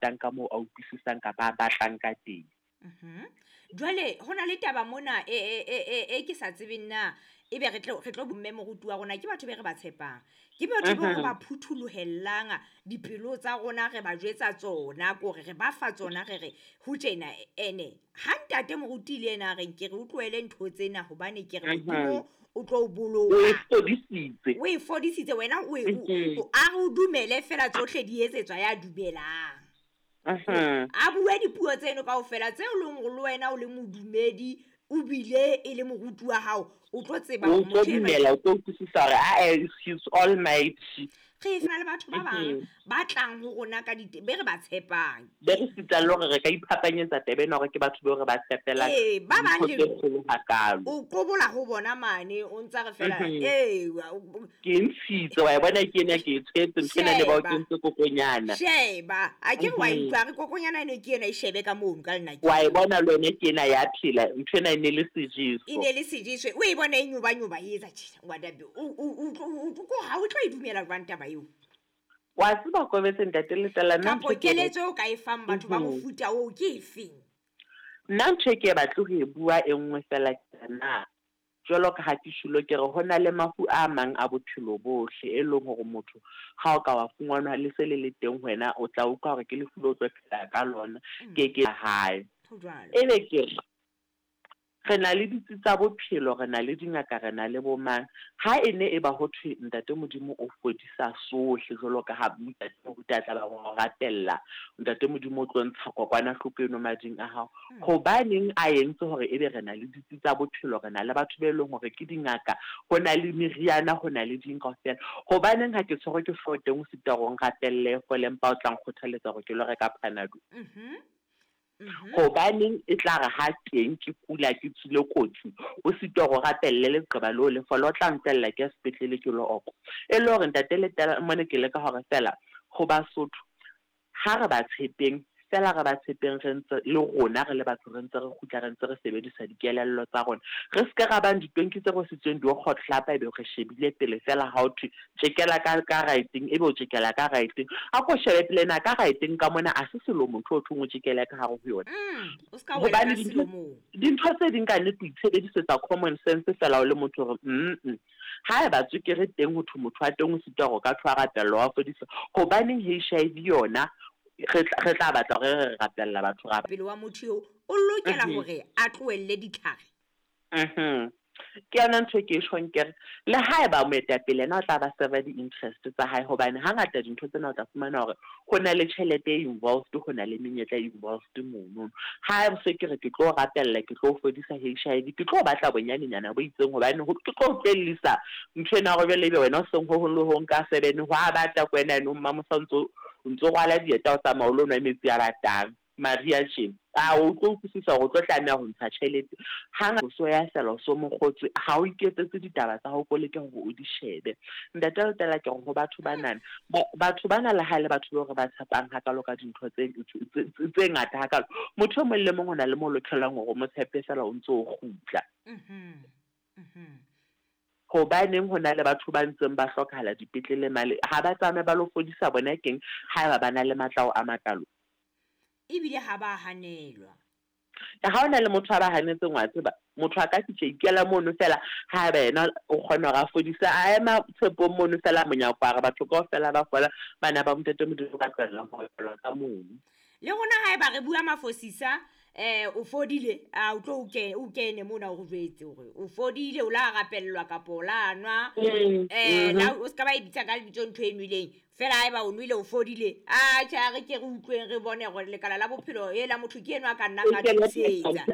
Tang ka moo a utlwisisang kapa a batlang ka teng. Jwale ho na le taba mona e ke sa tsebeng na ebe re tlo bomme moruti wa rona ke batho be re ba tshepang, ke batho bao re ba phutholohellang dipelo tsa rona, re ba jwetsa tsona kore re ba fa tsona, re re ho tjena. Ene ha ntate moruti le ena a reng ke re o tlohele ntho tsena hobane ke re Modimo o tlo o O e boloka. Fodisitse. O e fodisitse wena o a re o dumele fela, tsohle di etsetswa ya dumelang. A bue dipuo tseno kaofela tseo leng hore le wena o le modumedi, o bile e le moruti wa hao, o tlo tseba O hore tlo motho enwa dumela, o tlo utlwisisa hore ae, he's almighty. Re na le batho ba bang ba tlang ho rona ka dite be re ba tshepang. Be re sitang le hore re ka iphapanyetsa taba ena hore ke batho bao re ba tshepelang Ee, ba bang dintho le tse kgolo hakalo. O kobola ho bona mane, o ntsa re fela ee Ke e ntshitse, wa e bona, ke ena ke e tshwetse ntho ena, ne ba o Sheba. kentse kokonyana. Sheba, a ke re wa utlwa re kokonyana eno ke ena, e shebe ka mono ka lenakeng. Wa e bona le wena, ke ena ya phela, ntho ena e ne le sejeso. E ne le sejiswe, o e bona e nyobanyoba, e etsa tjena wadabe ko ha o tlo e dumela jwang taba eo? Wa tseba, Kobetse, ntate Letela, nna Kapo ntho e ke keletso eo ka e fang batho ba mofuta oo ke efeng? Nna ntho e ke batle ho e bua e nngwe fela ke na jwalo ka ha ke tjhulo, ke re ho na le mafu a mang a bophelo bohle, e leng hore motho ha o ka wa fumanwa le se le le teng ho wena, o tla utlwa hore ke lefu le o tlo phela ka lona ke ke hae. Ho jwalo. Ebe ke re re na le ditsi tsa bophelo, re na le dingaka, re na le bo mang. Ha e ne e ba ho thwe ntate Modimo o fodisa sohle, jwalo ka ha ntate moruti a tla ba o rapella, ntate Modimo o tlo ntsha kokwanahloko eno mading a hao, hobaneng a entse hore ebe re na le ditsi tsa bophelo, re na le batho be leng hore ke dingaka, ho na le meriana, ho na le ding kaofela? Hobaneng ha ke tshwerwe ke hlooho teng o sita hore o nrapelle fole, empa o tla nkgothaletsa hore ke lo reka Panado? Hobaneng e tla re ha teng ke kula, ke tswile kotsi, o sitwa hore o rapelle leqeba leo le fole, o tla ntlohella ke ya sepetlele ke lo okwa? E le hore ntate Letela, mone ke leka hore fela ho Basotho ha re ba tshepeng fela, re ba tshepeng, re ntse le rona re le batho, re ntse re kgutla, re ntse re sebedisa dikelello tsa rona, re se ke ra bang ditonki tse rwesitsweng di kgotlapa, ebe re shebile pele fela. Ha o thwe tjekela ka right-eng, ebe o tjekela ka right-eng. A ko shebe pele na ka right-eng ka mona a se selo motho o thweng o tjekele ka hare ho yona. O ska wela Hobane ka selomong. Dintho tse ding ka nnete o itshebedisetsa common sense fela o le motho hore ha eba tswekere teng, ho thwe motho wa teng o sitwa hore o ka thwe a rapellwa, wa fodiswa, hobaneng HIV yona re tla batla hore re rapella batho ra Pele wa motho eo o lokela hore a tlohelle ditlhare. Ke yona ntho e ke e tjhong, ke re le haeba moetapele ena o tla ba serve di-interest tsa hae, hobane hangata dintho tsena o tla fumana hore ho na le tjhelete e involved, ho na le menyetla e involved mono. Ha se ke re ke tlo rapella, ke tlo fodisa HIV, ke tlo batla bonyanenyana bo itseng, hobane ke tlo utlwellisa ntho ena hore jwale ebe wena o seng ho hong le hong ka 7 ho a bata ko wena, yanong Mamosa o ntso rwala dieta, o tsamaya o lo nwa metsi a batang mariha tjena, a o tlo utlwisisa hore o tlo tlameha ho ntsha tjhelete. Hangata o so ya fela, o so mokgotswe, ha o iketsetse ditaba tsa hao, ko leke hore o di shebe. Ntate Letela, ke re ho batho banana, batho bana le ha e le batho bao re ba tshepang hakalo ka dintho tse ngata hakalo, motho e mong le mong o na le mo lokelang hore o mo tshepe fela, o ntso o kgutla. Hobaneng ho na le batho ba ntseng ba hlokahala dipetlele male, ha ba tsamaye ba lo fodisa bona keng haeba ba na le matla ao a makalo? Ebile ha ba hanelwa. Ha hona le motho a ba hanetseng, wa tseba motho a ka fihla ikela mono fela, haeba yena o kgona hore a fodise, a ema tshepong mono fela monyako, a re batho kaofela ba fola, bana ba ntate Modimo ba tlohella ho opelwa ka mono. Le rona haeba re bua mafosisa, o fodile, a o tlo o kene mona, o re jwetse hore o fodile, o la rapellwa kapa o la nwa. La o ska ba e bitsa ka lebitso ntho e nweleng fela. Haeba o nwele, o fodile, a tjhe, a re ke re utlweng, re bone hore lekala la bophelo e la motho ke enwa a ka nnang a thusetsa.